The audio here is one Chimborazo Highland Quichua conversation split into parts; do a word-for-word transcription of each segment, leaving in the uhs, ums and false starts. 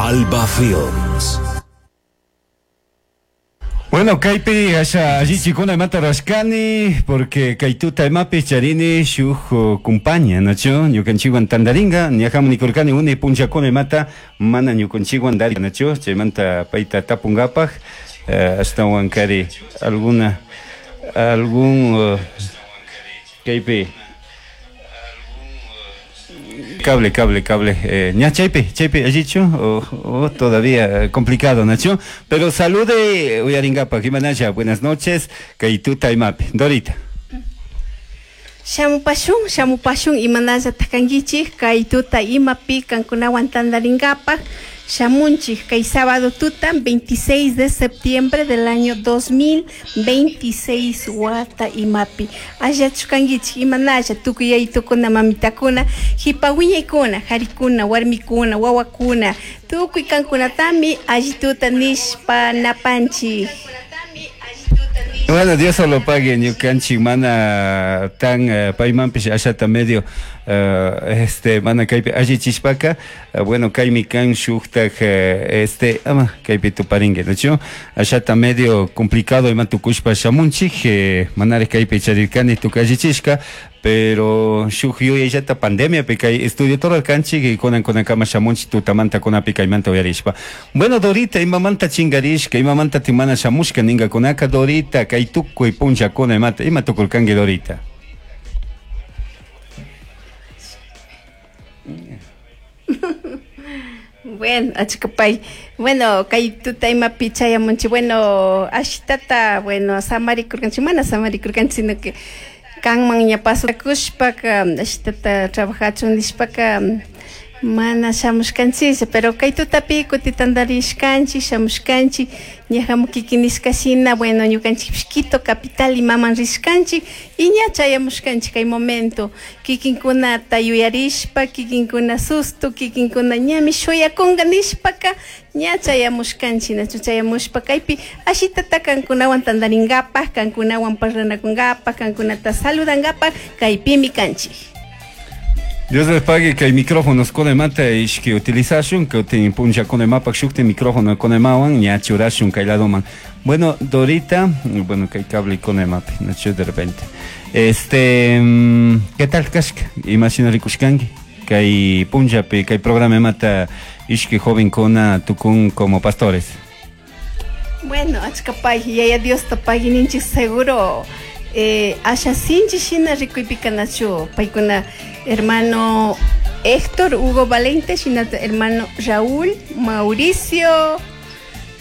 Alba Films. Bueno, kaypi asha allichikuna imata rashkani porque kay tuta imapi charini shuk kumpaña, nachu ñukanchikwan tandaringa ñajamu nikurkani uni punchakuna imata mana ñukanchikwan dari, nachu chaymanta payta tapunkapaj eh, ashtawan kari alguna algún uh, kaypi cable, cable, cable. Eh, ña chaypi, chaypi allichu o, o todavía complicado, nachu. Pero salude uyaringapaj, imanalla, buenas noches, kay tuta imapi. Dorita. Shamupashun, shamupashun imanalla takankichik, kay tuta imapi kankunawan tandaringapaj. Shamunchik, kay sábado tuta, veintiséis de septiembre del año dos mil veintiséis, wata imapi. Allachu kankichik, imanalla, tukuy yaytukuna, mamitakuna, hipawiñaykuna, harikuna, warmikuna, wawakuna, tukuy kankunatami allituta nishpa napanchik. Bueno, Dios solo pague, ñukanchik mana tan uh, paymanpish ashata medio uh, este mana kaypi allichishpaka, uh, bueno, kaymi kan shuktak uh, este ama kaypi tuparingue, ¿no? Ashata medio complicado ima tukushpa shamunchik, eh, manari kaypi charirkani tukallichishka, pero shuk yuyayllata pandemia pi kay estudio torarkanchik y kunan kunankama shamunchik tutamanta kunapi kaymanta uyarishpa. Bueno, Dorita, imamanta chingarishka, imamanta timana shamushka ningakunaka, Dorita, kay tukuy punchakuna imata, ima tukurkanki, Dorita? Bueno, achkapay. Bueno, kay tuta imapi chayamunchik, bueno, ashtata, bueno, samarikurkanchik, mana samarikurkanchik, sino que kanman ña pasakushpaka, ashtata trabajachun nishpaka, mana shamushkanchik, pero kay tutapi kutitandarishkanchik, shamushkanchik, ñajamu kikinishka shina, bueno, ñukanchikpish Quito capital imaman rishkanchik, y ña chayamushkanchik kay momento, kikinkunata yuyarishpa, kikinkuna susto, kikinkuna ñami shuyakunka nishpaka, ña chayamushkanchik, nachu chayamushpa kaypi ashitata kankunawan tandarinkapaj, kankunawan parlanakunkapaj, kankunata saludankapaj, kaypimi kanchik. Dios les pague que hay micrófonos con mata y que utilizashun, que te puncha con mapa, shukte micrófono con mawan, ña churashun kailadoman. Bueno, Dorita, bueno, que hay cable con mapa, no de repente. Este, ¿qué tal, Kashka? Imagina rikushkangi, que hay puncha, que hay programa mata, ishki joven con tukun como pastores. Bueno, achkapay, yaya Dios tapay, ninchik seguro. Eh, asha sinchi shina rikuypika nachu paykuna hermano Héctor Hugo Valente, shina hermano Raúl Mauricio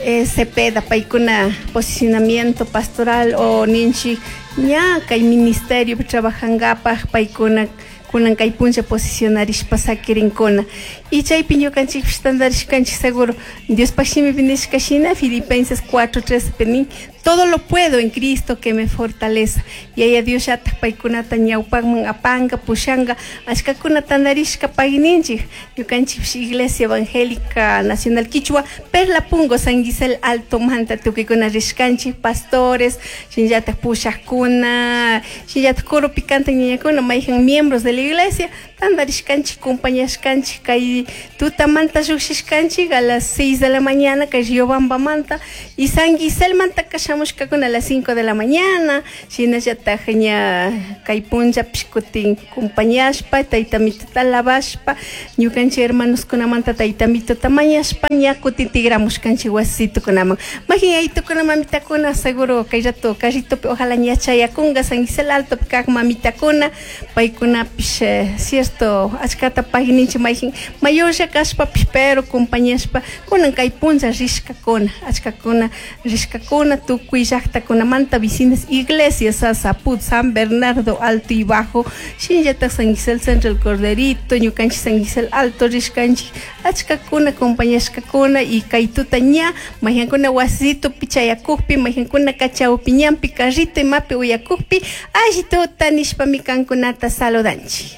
eh, Cepeda, paykuna posicionamiento pastoral o ninchi ña kay ministerio trabajankapaj paykuna kunan kay puncha posicionarishpa sakirinkuna. Y chaypi ñukanchikpish tandarishkanchik seguro Diospaj shimipi nishka shina Filipenses cuatro trece nin todo lo puedo en Cristo que me fortaleza. Yaya Dios llatak paykunata ñawpakman apanka pushanga ashkakuna tandarishka payninchik ñukanchikpish Iglesia Evangélica Nacional Quichua Perla Pungo San Gisel Alto Manta tukuykuna rishkanchik pastores shinllatak pushakuna shinllatak coro picante ñañakuna mayjan miembros de la iglesia tandarishkanchik compañashkanchik kay tutamanta lluqshishkanchik a las seis de la mañana kay Riobambamanta y San Gisel manta kashamushkakuna a las cinco de la mañana shinallataj ña kay punllapish kutin compañashpa taytamitota lavashpa ñukanchik hermanoskunamanta taytamitota mañashpa ña kutin tigramushkanchik wasitukunaman majin yaytukuna mamitakuna seguro kay rato carritopi ojalá ña chayakunka San Gisel Altopi kaq mamitakuna paykunapish eh, cierto achkata payninchik mayjin mayorlla kashpapish pero compañashpa kunan kay punlla rishkakuna achkakuna rishkakuna tukuy llaqtakunamanta vecinas iglesias Sasaput, San Bernardo Alto y Bajo shinllatak San Gisel Centro el Corderito ñukanchik San Gisel Alto rishkanchik achkakuna compañashkakuna y kay tuta ña mayjankuna wasitopi chayakukpi mayjankuna kachawpi ñanpi carrito imapi uyakukpi alli tuta nishpami kankunata saludanchik.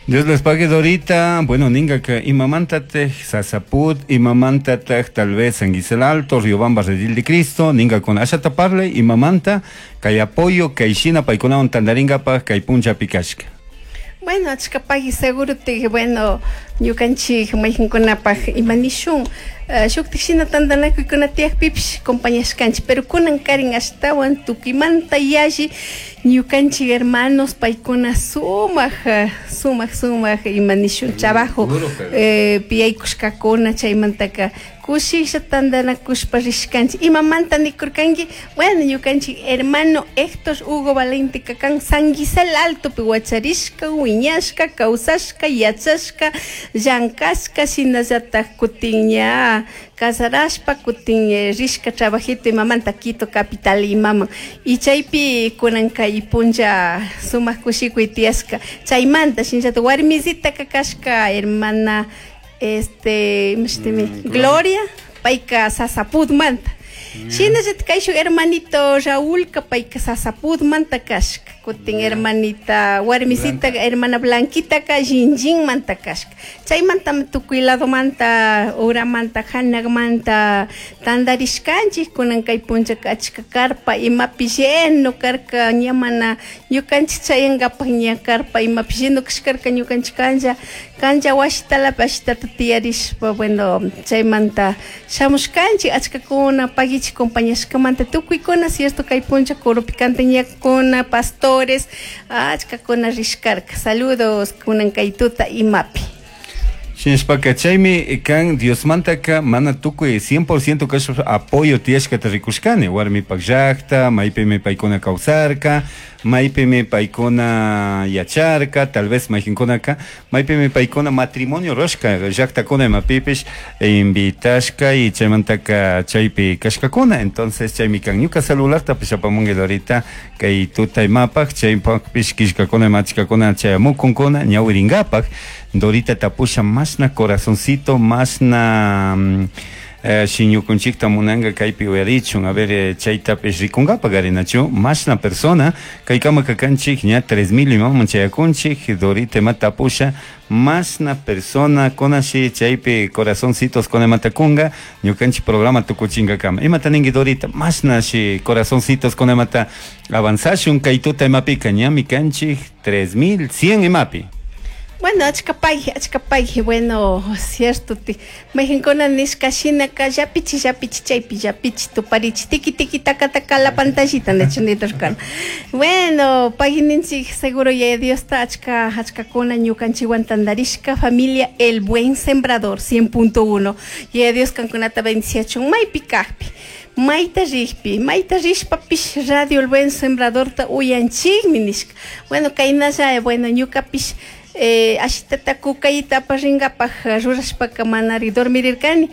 Dios les pague, Dorita. Bueno, ninga que imamantate, Sasaput, imamantate, tal vez San Gisel Alto, Riobamba, Redil de Cristo, ninga con ashataparle, imamanta, kay apoyo, kay shina, paikunawan tandaringapa, kay puncha pikashka. Bueno, achkapay seguro te, bueno, Ñukanchik mayqinkunapaq ima nishun uh, shuktik shina tantanakuykuna tiyakpipish compañashkanchik, pero kunan karin ashtawan tukuymanta yalli ñukanchik hermanos paykuna sumaq uh, sumaq sumaq ima nishun trabajo eh, piyaykushkakuna, chaymantaka kushishlla tantanakushpa rishkanchik. Imamanta nikurkanki? Bueno, ñukanchik hermano Héctor Hugo Valente kan San Gisel Altopi wacharishka, wiñashka, kawsashka, yachashka, llankashka, shinallatak kutin ña casarashpa kutin eh, rishka trabajito imamanta Quito capital imaman, y chaypi kunan kay punlla sumaq kushikuy tiyashka. Chaymanta shinallatak warmisitaka kashka hermana este imashtimi Mm, Gloria, payka Sasaputmanta. Shinallatak kayshuk hermanito Raúlka payka Sasaputmanta kashka, kutin hermanita warmisita Blanca. hermana Blanquitaka Shinjinmanta kashka. Chaymantami tukuy ladomanta, uramanta, hanakmanta tantarishkanchik. Kunan kay punllaka achka carpa imapi lleno karka, ña mana ñukanchik chayankapak ña carpa imapi lleno kashkarka, ñukanchik kanlla kanlla wasitalapi ashitata tiyarishpa, bueno, chaymanta shamushkanchik achkakuna pagichik compañashkamanta tukuykuna, cierto, kay punlla coroppi cantañakuna, pastores, achkakuna rishkarka. Saludos kunan kay tuta imapi. Shinashpaka chaymi kan Diosmantaka mana tukuy cien por ciento kashpa apoyo tiyashkata rikushkani warmipak llakta, maypimi paykuna kawsarka, maypimi paykuna yacharka, tal vez mayqinkunaka maypimi paykuna matrimonio rurashka llaktakuna imapipish invitashka y chaymantaka chaypi kashkakuna. Entonces chaymi kan ñuka celulartapish apamunki ahorita kay tuta imapaj, chaypakpish killkakuna imachkakuna chayamukunkuna ñawirinkapak. Dorita tapusha masna corazoncito, masna, mm, eh, shiñukunchikta munanga kaypi uyarichun, a ver, eh, chaytapish rikunkapak arinachu, masna persona, kaykama kakanchik ña tres mil imaman chayakunchik. Dorita ima tapusha masna persona kunashi chaypi corazoncitos kunamatakunga ñukanchik programa tukuchinkakama. Imata ninki Dorita, masna shi corazoncitos kunamata avanzashun kay tuta imapika ñami kanchik tres mil cien imapi. Bueno, achka payji, achka payji, bueno, cierto, ti, mayqinkuna nishka shinaka llapichi, llapichi, chaypi, llapichi, tuparichi, tiki, tiki, taka, taka, la pantallita, nachu niturkana. Bueno, payji seguro ya Dios ta achka, achkakuna ñukanchikwan tantarishka, familia El Buen Sembrador, cien punto uno. Yaya Dios kankunata bendiciachun, maypi kajpi, mayta rikpi, mayta rishpapish Radio El Buen Sembradorta uyanchikmi nishka. Bueno, kaynalla, bueno, ñukapish, eh, ashitata kukayta aparrinkapaj rurashpaka manari dormirirkani,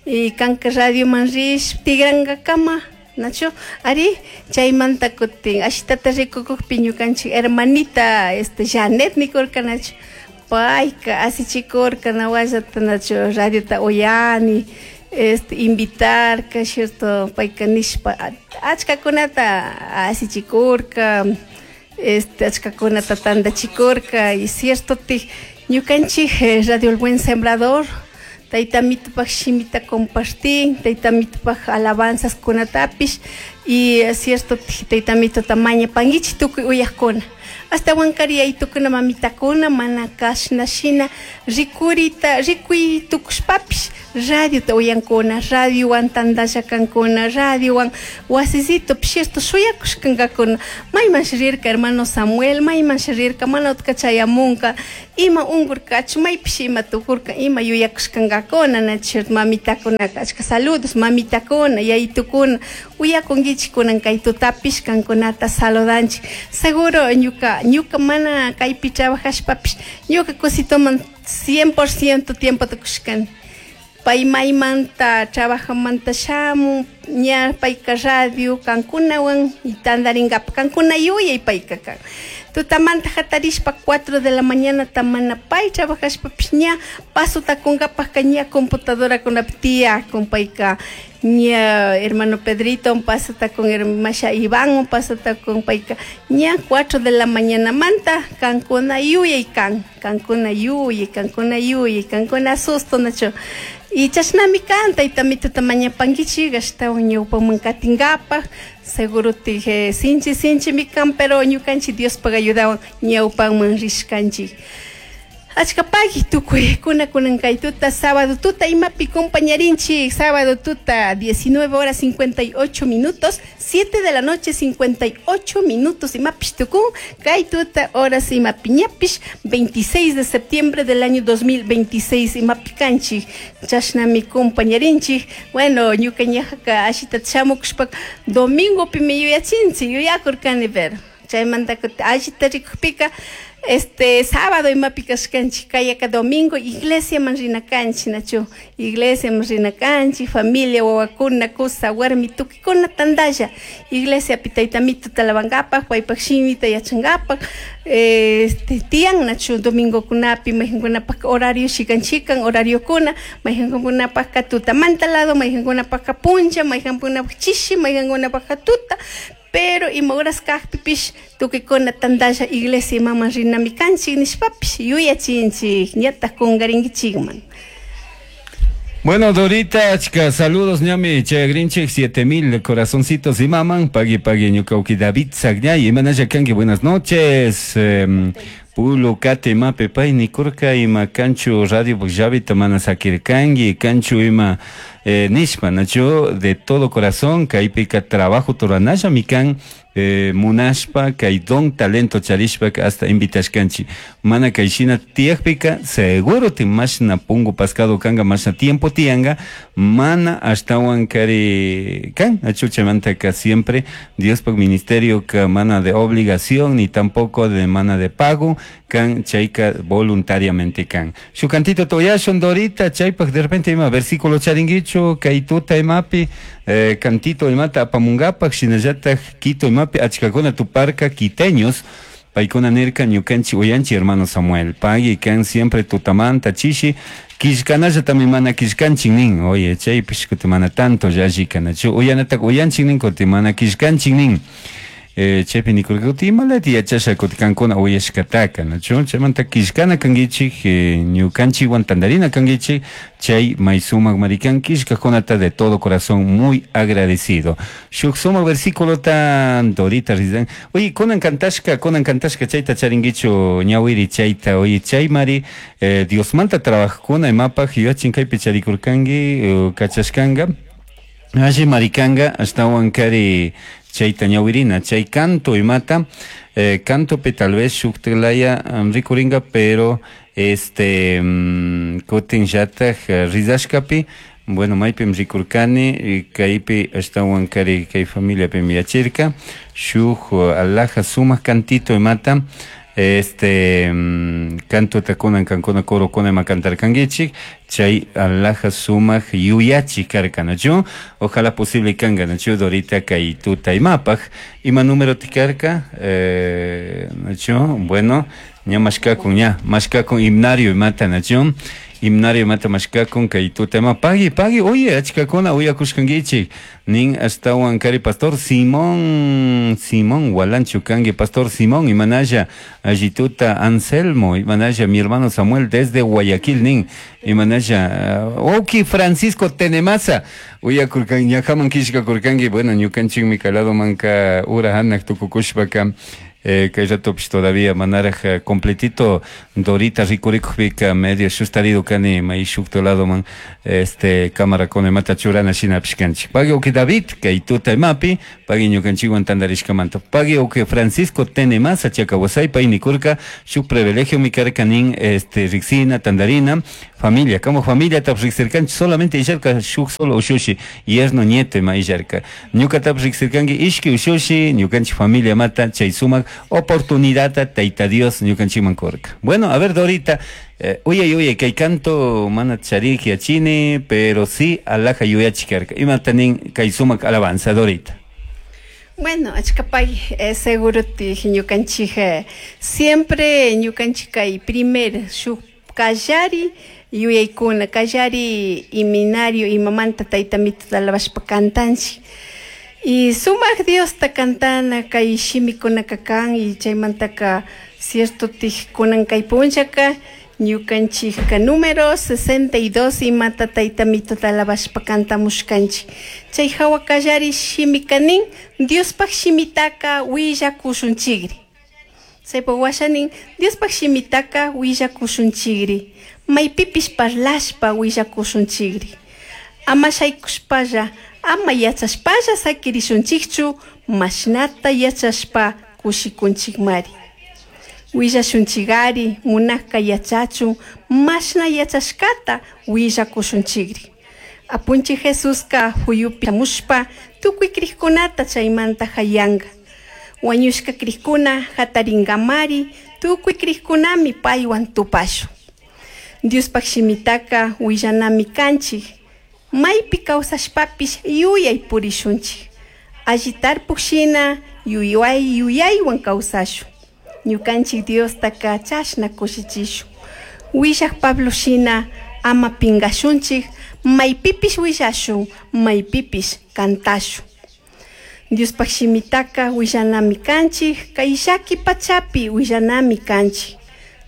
y kanka radioman rish tigrankakama, nachu ari chaymanta kutin ashitata rikukukpi ñukanchik hermanita este Janet nikurka, nachu payka asichikurka nawallata, nachu radiota uyani, este invitarka, cierto, payka nishpa achkakunata asichikurka, este achkakunata tantachikurka, y cierto ti ñukanchik, eh, Radio El Buen Sembrador tayta mitupaj shimita compartin, tayta mitupaj alabanzas kunatapish, y eh, cierto ti tayta mituta mañapankichik tukuy uyajkuna. Hasta wankari yaytukuna mamitakuna mana kashna shina rikurita rikuy tukushpapish radiota uyankuna, radiowan tantalla kankuna, radiowan wasisito cierto shuyakushkankakuna. Mayman rirka hermano Samuel, mayman rirka mana utka chayamunka, ima unkurkachu, maypish ima tukurka, ima yuyakushkankakuna, na cierto mamitakunaka. Achka saludos mamitakuna, yaytukuna, uyakunkichik kunan kay tutapish kankunata saludanchik. Seguro ñuka, ñuka mana kaypi trabajashpapish ñuka kusitoman cien por ciento tiempo tukushkani. Pay maymanta trabajamanta shamun, ña payka radio kankunawan y tantarinkapa kankuna yuyay payka kan. Tutamanta hatarishpa cuatro de la mañana tamana pay trabajashpapish ña pasota kunkapajka ña computadora kunapi tiyakun payka ña hermano Pedrito pasota con hermasha Iván pasota con payka ña cuatro de la mañana manta kankuna yuyay kan, kankuna yuyay, kankuna yuyay, kankuna susto nacho. Y chashnami kan, tayta mituta mañapankichik, ashtawan ñawpaman katinkapak, seguro tije sinchi sinchi mi kan, pero ñukanchik Diospaj ayudawan ñawpaman rishkanchik. Achkapaki tukuykuna kunan kay tuta sábado tuta imapi compañarinchik sábado tuta diecinueve horas cincuenta y ocho minutos, siete de la noche cincuenta y ocho minutos imapish tukun kay tuta horas imapi ñapish veintiséis de septiembre del año dos mil veintiséis imapi kanchik chashnami compañarinchik. Bueno, ñuka ñajaka ashita shamukushpa domingo pimi yuyachinchik yuyakurkani pero chaymanta ashita rikukpika este sábado imapi kashkanchik kayaka domingo iglesia man rina kanchik nachu iglesia man rina kanchik familia wawakuna kusa warmi tukikuna tantalla iglesia pi taytamito talabankapak paypak shimita yachankapak este tiyan nachu domingokunapi mayqinkunapak horario chikan chikan horariokuna mayqinkunapakka tutamanta lado mayqinkunapakka puncha mayqinkunapak chishi mayqinkunapakka tuta pero ima horas kajpipish tukikuna tantalla iglesia imaman rinami kanchik nishpapish yuyachinchik ñataj kunkarinkichikman. Bueno, Dorita, chica, saludos, ñami, chayagrinchik, siete mil corazoncitos y maman, pagui, pagui, ñucauqui, David Sagñay, imanaya kanki, buenas noches, eh, Pulo, kate, mape, pay, nikurka, ima, kanchu, radio, llavita, mana, sakirkangi, kanchu, ima, eh, nishpa, nacho, de todo corazón, kaypika, trabajo, toranaya, mikan, eh, munashpa, kay don talento charishpa, hasta invitashkanchi, mana kayshina tiyakpika, seguro te mashna pungu pascado kanga, mashna tiempo tianga, mana ashtawan kari kan, achuchamanta ka siempre, Dios por ministerio ka mana de obligación, ni tampoco de mana de pago, kan chayka voluntariamente kan. Su cantito toyashon Dorita, chaypak de repente ima versículo charinguicho, kaytuta imapi, eh, cantito imata apamungapak, shinallataj quito imapi, achkakuna tuparka quiteños, paykuna nirka ñukanchi uyanchi hermano Samuel, pagui kan siempre tutamanta chishi, kishkanalla también mana kishkanchin nin, oye, chaypish kuti mana tanto yalli kanachu, uyanatak uyanchin nin, kuti mana kishkanchin nin. Eh, chaypi nikurka kuti imalati yachasha kuti kankuna uyashkataka, nachu, chaymanta kishkana kankichik, eh, ñukanchikwan tantarina kankichik, chay may sumak marikan kishkakunata de todo corazón muy agradecido. Shuk sumak versículo tan Dorita rizan. Oye, kunan kantashka, kunan kantashka chayta charinkichu ñawiri chayta, oye, chay mari, eh, Diosmanta trabajkuna imapaj yuyachin kaypi charikurkanki, eh, kachashkanga. Alli marikanga ashtawan kari chayta ñawirina, chay canto imata, eh, cantopi tal vez shuktilaya um, rikuringa, pero este um, kutin llataj uh, rizashkapi, bueno, maypim rikurkani, kaypi ashtawan kari kay familiapim yachirka, shuk uh, alhaja sumak cantito imata, este um, canto takunan kankuna coro kuna ima cantarkankichik, chay alhaja sumak yuyachi karka, nachu, ojalá posible kanga, nachu, Dorita kay tuta imapaj, ima número tikarka, eh, nachu, bueno, ña mashkakun, ña, mashkakun himnario imata, nachu, himnario imata mashkakun kay tuta ima, pagui, pagui, oye, achkakuna uyakushkankichik, nin ashtawan kari pastor Simón, Simón Walanchu kanki, pastor Simón, imanaya, allituta Anselmo, imanaya, mi hermano Samuel desde Guayaquil, nin, imanaya, uh, oki Francisco Tenemaza, uyakurkan, ñajaman kishkakurkanki, bueno, ñukanchikmi kalado manka ura hanak tukukushpaka, eh, kay ratopish todavía manaraj completito Dorita rikurikujpika medio shustarido kani may shukto lado man este cámara con mata churana shinapish kanchik. Pagui uki David kay tuta imapi, pagui ñukanchikwan tantarishkamanta. Pagui uki Francisco Tenemaza chakawasay pay nikurka shuk privilegio mi karka nin este riksina tandarina familia, como familia tap riksirkanchik solamente illarka shuk solo ushushi yerno nieto ima illarka. Ñuka tap riksirkanki ishki ushushi ñukanchik familia mata chay sumak oportunidad taita Dios ñukanchikman kurka. Bueno, a ver Dorita, eh, uye uye kay canto mana charik yachini, pero sí alhaja yuyachikarka. Imata nin kay sumak alabanza Dorita. Bueno, achkapay, eh, seguro ti ñukanchik eh, siempre ñukanchik kay primer shuk kallari yuyaykuna kallari iminario imamanta tayta mituta alabashpa kantanchik. Y sumak Diosta kantana kay shimikunaka kan y chaymantaka cierto tijkunan kay punchaka ñukanchikka número sesenta y dos imata tayta mituta alabashpa kantamushkanchik. Chay hawa kallari shimika nin Diospaj shimitaka willakushunchikri. Chaypa washanin Diospaj shimitaka willakushunchikri. Maypipish parlashpa willakushunchikri. Ama shaykushpalla, ama yachashpalla sakirishunchikchu, mashnata yachashpa kushikunchikmari. Willashunchikari munakka yachachun, mashna yachashkata willakushunchikri. Apunchik Jesuska huyupi shamushpa tukuy krikkunata chaymanta hayanka. Wañushka krikuna hatarinkamari tukuy krikkunami paywan tupashun. Diospaj shimitaka willanami kanchik. Maypi kawsashpapish yuyay purishunchik. Alli tarpuk shina yuyay yuyaywan kawsashun. Ñukanchik Diostaka chashna kushichishun. Willak Pablo shina ama pinkashunchik, maypipish willashun, maypipish kantashun. Diospaj shimitaka willanami kanchik, kay llaki pachapi willanami kanchik.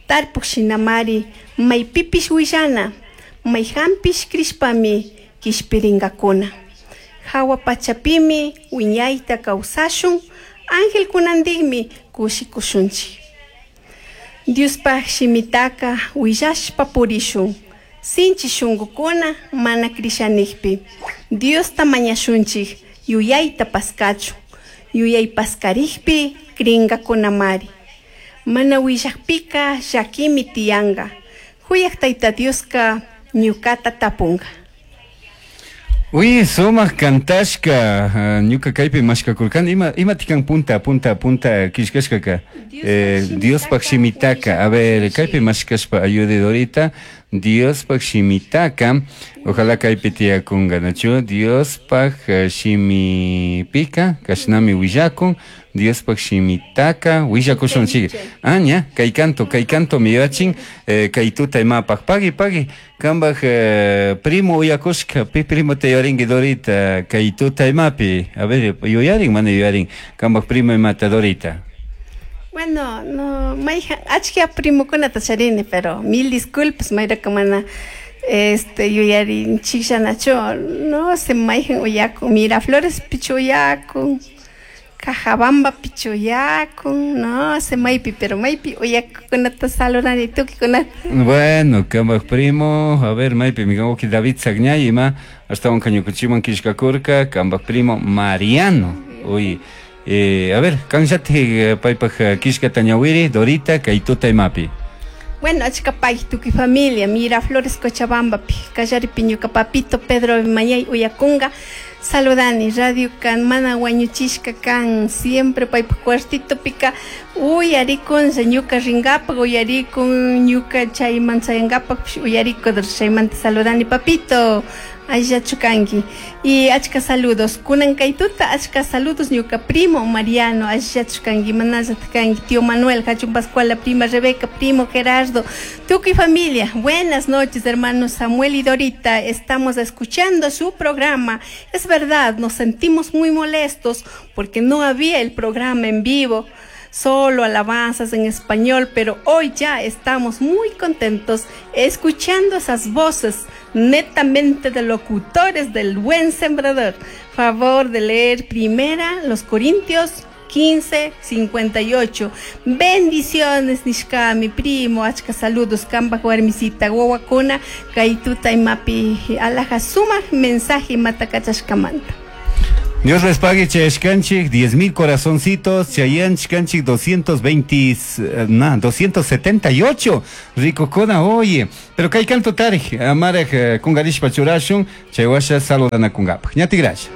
Tarpuk shinamari maypipish willana, mayhanpish krishpami kishpirinkakuna. Hawa pachapimi wiñayta kawsashun, angelkunantikmi kushikushunchik. Diospaj shimitaka willashpa purishun, sinchi shunkukuna mana krishanikpi. Diosta mañashunchik yuyayta paskachun, yuyay paskarikpi krinkakunamari. Mana willakpika llakimi tiyanka. Huyak Tayta Dioska ñukata tapunka. Uy, sumaq kantashka, ñuka kaypi mashkakurkani, ima imatikan punta punta punta killkashkaka. Eh, Diospaj shimitaka, a ver, kaypi mashkashpa ayude Dorita, Diospaj shimitaka, ojalá kaypi tiyakunka, nachu, Diospaj shimipika, kashnami willakun, Diospaj shimitaka, willakushunchik. Ah, ña, kay canto, kay canto mi yachin, eh, kay tuta imapaj, pagui, pagui, kambaj eh, primo uyakushka, pi primo te yuyarinki Dorita, kay tuta imapi, a ver, yuyarin, mana yuyarin, kambaj primo imata Dorita. Bueno, no, mayja, achka primokunata charini, pero mil disculpas, mayraka mana este yuyarinchikllanachu, no se mayjan uyakun, Miraflores pichu uyakun, Cajabamba pichu uyakun, no se maypi, pero maypi uyakunata saludani tukikunata. Bueno, kambaj primo, a ver, maypi, mi wawqi David Sagñay ima, ashtawan ñukanchikman killkakurka, kambaj primo Mariano, uy. Eh, a ver, kanllatik paypaj killkata ñawiri, Dorita, kay tuta imapi. Bueno, achka pay tukuy familia, Miraflores Cochabambapi, kallaripi ñuka papito Pedro Mañay uyakunga, saludani, radio kan mana wañuchishka kan, siempre paypaj cuartitopika uyarikunlla ñuka rinkapak, uyarikun ñuka chayman chayankapak uyarikudur, chaymanta saludani papito. Allachu kanki. Y achka saludos. Kunan kay tuta achka saludos ñuka primo Mariano, allachu kanki, manallataq kanki, tío Manuel, Hachun Pascual, la prima Rebeca, primo Gerardo, tukuy familia. Buenas noches, hermanos Samuel y Dorita. Estamos escuchando su programa. Es verdad, nos sentimos muy molestos porque no había el programa en vivo, solo alabanzas en español, pero hoy ya estamos muy contentos escuchando esas voces netamente de locutores del Buen Sembrador. Favor de leer primera los Corintios quince, cincuenta y ocho. Bendiciones, nishka, mi primo, achka saludos, kamba warmisita, wawakuna, kaytuta imapi, alaja suma mensaje matakachashkamanta. Dios les pague, chayashkanchik, diez mil corazoncitos, chayanchkanchik, doscientos veinte, na, doscientos setenta y ocho, rico kona, oye, pero kay canto tarij, amaraj kungarishpa churashun, chaywasha saludana kungapaj. Ñati gracias.